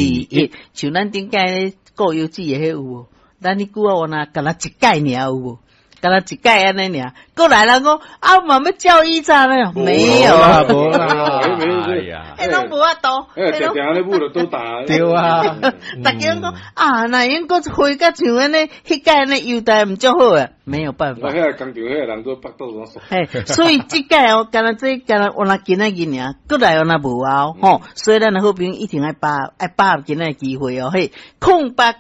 一，像咱頂屆顧腰子的彼有無？咱彼久啊，我若敢若一屆爾有無？敢若一屆按呢爾，過來人講啊，嘛欲照以早呢？沒有，無啦，哎呀，欸，攏無法度，欸，定定咧舞就倒打，對啊，逐家講啊，若用閣回甲像按呢，彼屆按呢優待毋足好啊，沒有辦法。那彼個工廠彼個人都腹肚攏嘿，所以這屆哦，敢若這敢若我若今仔日爾，閣來我若無啊吼，所以咱的好朋友一定愛把愛把握今仔的機會哦，嘿，0800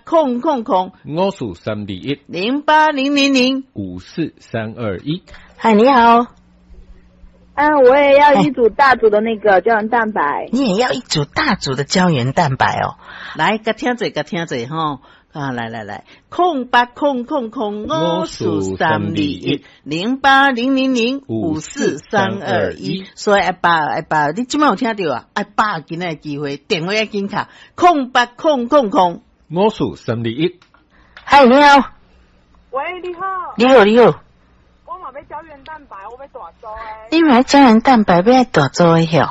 54321 08000 54321。嗨，你好。嗯，我也要一組大組的那個膠原蛋白。你也要一組大組的膠原蛋白哦。來，共聽者，共聽者吼。啊，來來來，08000543210800054321，所以愛把握愛把握，你這擺有聽著啊？愛把握今仔的機會，電話愛緊敲，0800 54321。嗨，你好。喂，你好。你好，你好。我嘛欲膠原蛋白，我欲大組的。你欲膠原蛋白欲愛大組的吼？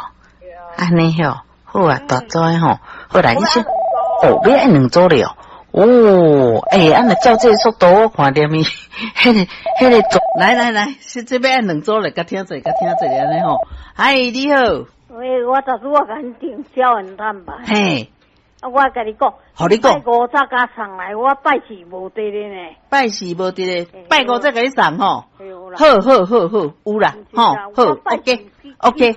按呢吼，好啊，大組的吼，好來，你先，哦，欲愛兩組了。哦，欸，按呢照這个速度，我看著伊，彼个組，來來來，是這欲愛兩組來，共聽者，共聽者按呢吼。嗨，你好。喂，我頭拄仔共你訂膠原蛋白。嘿。啊，我共你講，予你講，拜五才共送來，我拜四無佇咧呢。拜四無佇咧，拜五再共你送吼。好好好好，有啦，吼，好，OK，OK，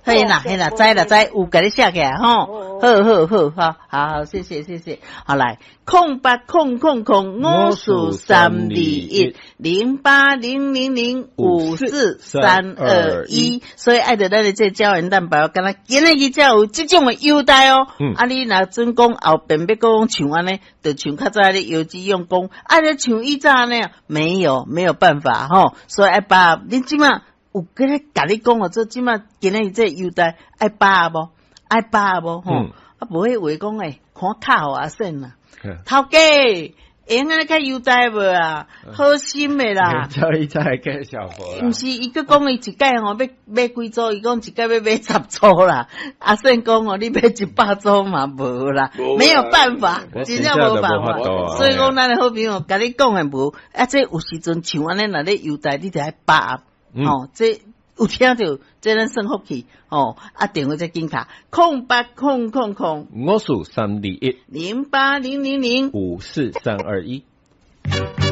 嘿啦嘿啦，知啦知，有共你寫起來吼。好好好，好，好好，謝謝謝謝，好來，08000543210800054321，所以愛著咱的這膠原蛋白，敢若今仔日才有這種的優待哦。啊，你若準講後邊欲閣像按呢，就像較早咧腰子用講，啊，你像以早按呢，沒有沒有辦法吼，所以愛把握，你這擺有共你共你講哦，這這擺今仔日這優待愛把握無？愛把握無？吼，啊，無彼話講欸，看卡予阿勝啦，頭家會用按呢較優待無啊？好心的啦。叫伊再介紹無。毋是，伊閣講伊一屆吼欲買幾組，伊講一屆欲買10組啦。阿勝講哦，你買100組嘛無啦，沒有辦法，真正無辦法。所以講，咱的好朋友共你講的無，啊，這有時陣像按呢，若咧優待，你著愛把握，吼，這有聽著，這咱算福氣，吼，啊，電話再緊敲，0800 54321 08000 54321。